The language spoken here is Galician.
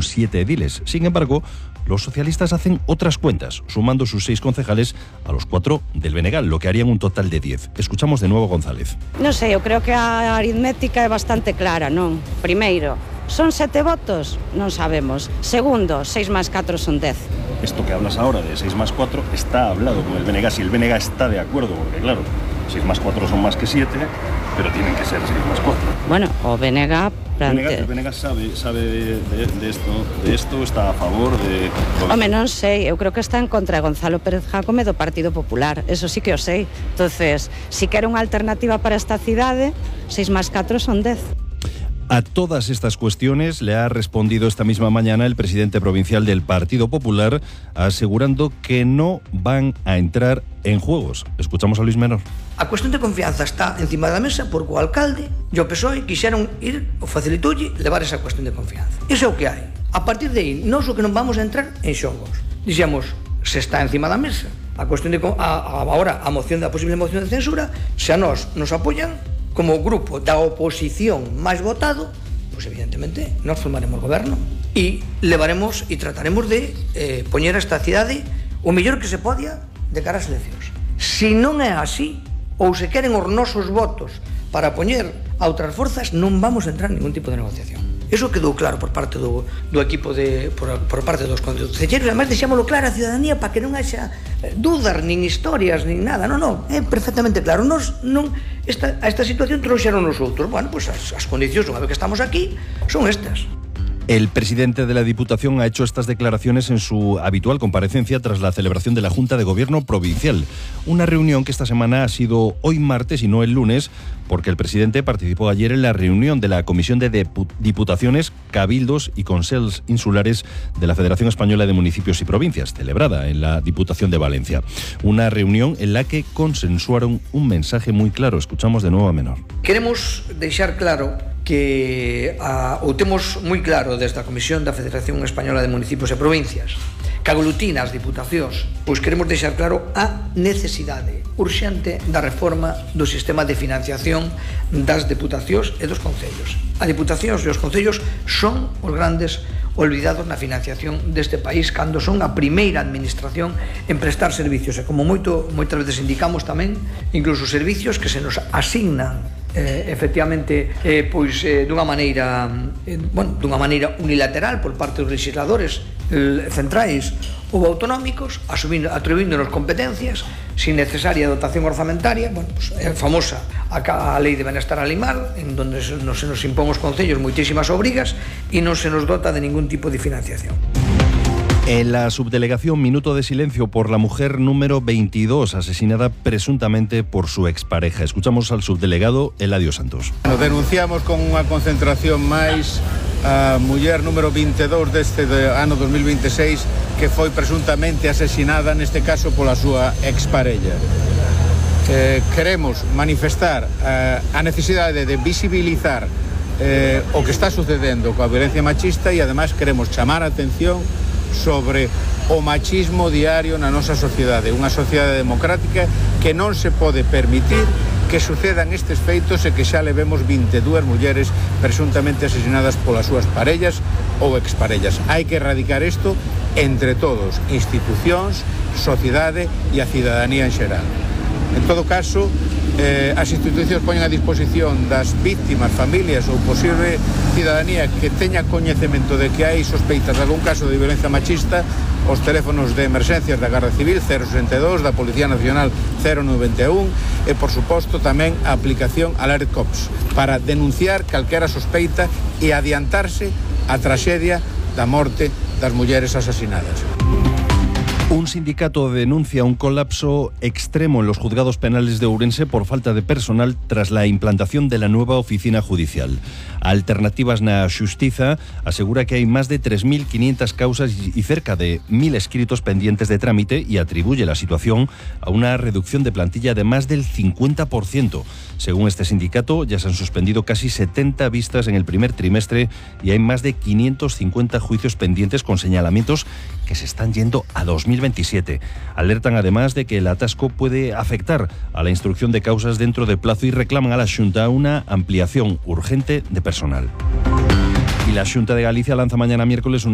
7 ediles. Sin embargo, los socialistas hacen otras cuentas, sumando sus 6 concejales a los 4 del Benegal, lo que harían un total de 10. Escuchamos de nuevo a González. Non sei, eu creo que a aritmética é bastante clara, non? Primeiro, son 7 votos? Non sabemos. Segundo, 6 más 4 son 10. Esto que hablas ahora de 6 más 4 está hablado con el BNG, si el BNG está de acuerdo, porque claro, 6 más 4 son más que 7, pero tienen que ser 6 más 4. Bueno, o BNG... El BNG sabe de esto, está a favor de... Home, non sei, eu creo que está en contra de Gonzalo Pérez Jácome do Partido Popular, eso sí que o sei. Entonces, si quere unha alternativa para esta cidade, 6 más 4 son 10. A todas estas cuestiones le ha respondido esta misma mañana el presidente provincial del Partido Popular, asegurando que no van a entrar en juegos. Escuchamos a Luis Menor. A cuestión de confianza está encima da mesa porque o alcalde e o PSOE quixeron ir, o facilitoulle, levar esa cuestión de confianza. Iso é o que hai. A partir de aí, nós o que non vamos a entrar en xogos. Dixemos, se está encima da mesa a cuestión de agora a moción da posible moción de censura, se a nós nos apoian como grupo da oposición máis votado, pois evidentemente nós formaremos goberno e levaremos e trataremos de poñer esta cidade o mellor que se podia de cara ás eleccións. Se non é así, ou se queren os nosos votos para poñer a outras forzas, non vamos a entrar en ningún tipo de negociación. Eso quedou claro por parte do equipo por parte dos concelleiros. Además, deixámoslo claro a ciudadanía para que non haxa dúdas, nin historias, nin nada. Non, é perfectamente claro. Nos non a esta situación trouxeron os outros. Bueno, pues as condicións, unha vez que estamos aquí, son estas. El presidente de la Diputación ha hecho estas declaraciones en su habitual comparecencia tras la celebración de la Junta de Gobierno Provincial. Una reunión que esta semana ha sido hoy martes y no el lunes, porque el presidente participó ayer en la reunión de la Comisión de Diputaciones, Cabildos y Consells Insulares de la Federación Española de Municipios y Provincias, celebrada en la Diputación de Valencia. Una reunión en la que consensuaron un mensaje muy claro. Escuchamos de nuevo a Menor. Queremos deixar claro que o temos moi claro desde a Comisión da Federación Española de Municipios e Provincias, que aglutina as diputacións, pois queremos deixar claro a necesidade urxente da reforma do sistema de financiación das diputacións e dos concellos. As diputacións e os concellos son os grandes olvidados na financiación deste país cando son a primeira administración en prestar servicios, e como moitas veces indicamos tamén, incluso servicios que se nos asignan efectivamente dunha maneira unilateral por parte dos legisladores centrais ou autonómicos, atribúndonos competencias sin necesaria dotación orzamentaria. Bueno, pues, é famosa a Lei de Benestar Animal, en donde se nos impón os concellos moitísimas obrigas e non se nos dota de ningún tipo de financiación. En la subdelegación, minuto de silencio por la mujer número 22, asesinada presuntamente por su expareja. Escuchamos al subdelegado Eladio Santos. Nos denunciamos con unha concentración máis a muller número 22 deste ano 2026 que foi presuntamente asesinada, neste caso pola súa exparella. Queremos manifestar a necesidade de visibilizar o que está sucedendo coa violencia machista e ademais queremos chamar a atención sobre o machismo diario na nosa sociedade, unha sociedade democrática que non se pode permitir que sucedan estes feitos e que xa levemos 22 mulleres presuntamente asesinadas polas súas parellas ou exparellas. Hai que erradicar isto entre todos, institucións, sociedade e a cidadanía en xeral. En todo caso, as institucións poñen a disposición das víctimas, familias ou posible cidadanía que teña coñecemento de que hai sospeitas de algún caso de violencia machista os teléfonos de emerxencias da Garda Civil 062, da Policía Nacional 091 e, por suposto, tamén a aplicación Alert Cops para denunciar calquera sospeita e adiantarse a traxedia da morte das mulleres asasinadas. Un sindicato denuncia un colapso extremo en los juzgados penales de Ourense por falta de personal tras la implantación de la nueva oficina judicial. Alternativas na Xustiza asegura que hay más de 3.500 causas y cerca de 1.000 escritos pendientes de trámite y atribuye la situación a una reducción de plantilla de más del 50%. Según este sindicato, ya se han suspendido casi 70 vistas en el primer trimestre y hay más de 550 juicios pendientes con señalamientos que se están yendo a 2027. Alertan además de que el atasco puede afectar a la instrucción de causas dentro de plazo y reclaman a la Xunta una ampliación urgente de personal. Y la Xunta de Galicia lanza mañana miércoles